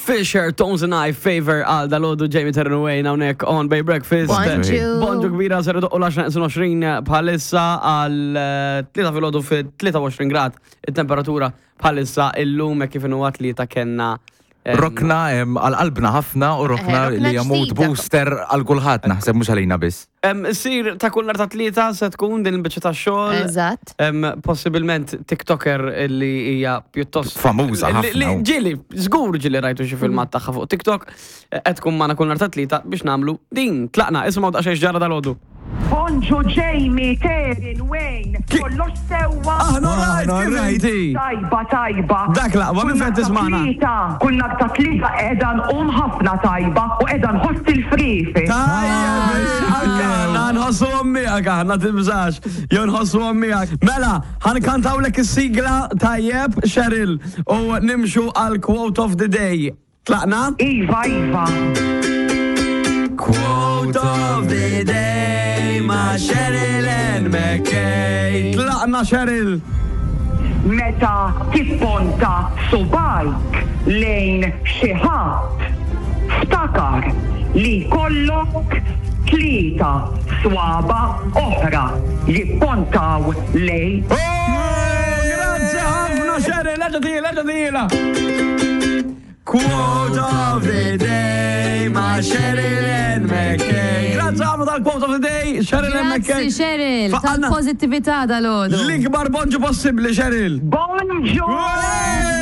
Fisher, Tones and I, Favor għal dalodu Jamie Terran Wayne hawnhekk on Bay Breakfast. Bonġu. Bonġu kbira ser doqqu l-10 bħalissa għal 3 filgħodu fi 23 grad it-temperatura bħalissa illum hekk kif inhu tlieta kellna Rokna għal-qalbna ħafna u rokna Eh, rokna li hija mood ġdida. booster għal kulħadd naħseb mhux għalina biss. Sir ta' kull nhar ta' tlieta se tkun din il-biċċa ta' xogħol. Eżatt. Possibilment TikToker li hija pjuttost Famuża li- li ħafna. Ġieli, żgur ġieli rajtu xi filmat tagħha fuq TikTok, qed tkun magħna kull nhar ta' tlieta biex nagħmlu din. Tlaqna, isimgħu daqsxejn x'ġara dalgħodu. Bonġu Jamie, Terin, Wayne, kollox sewwa. Aħna rajt kif inti. Tajba, tajba. Dak l-aqwa, minn fejn tismagħna? Tlieta, kull nhar ta' tlieta qiegħda nqum ħafna tajba u qiegħda nħoss il-frifi. Tajjeb, anke aħna nħossu miegħek aħna tibżax, jew nħossu miegħek. Mela, ħankantawlek is-sigla tajjeb, Cheryl, u nimxu għal quote of the day. Tlaqna? Iva, iva. Quote of the day ma' Cheryl and McKay. Tlaqna Cheryl. Meta tipponta subgħajk lejn xi ħadd, ftakar li jkollok tlieta swaba oħra jippontaw lejk. Oh, Grazzi ħafna Cheryl, eġa tila, eġa tila. Quote of the day ma' Cheryl and McKay. Grazzi ħafna tal-quote of the day, Cheryl and McKay. Grazzi Cheryl, Faqqalna tal-pozittività dal-għodu. L-ikbar bonġu possibbli, Cheryl. Bonġu! Wey!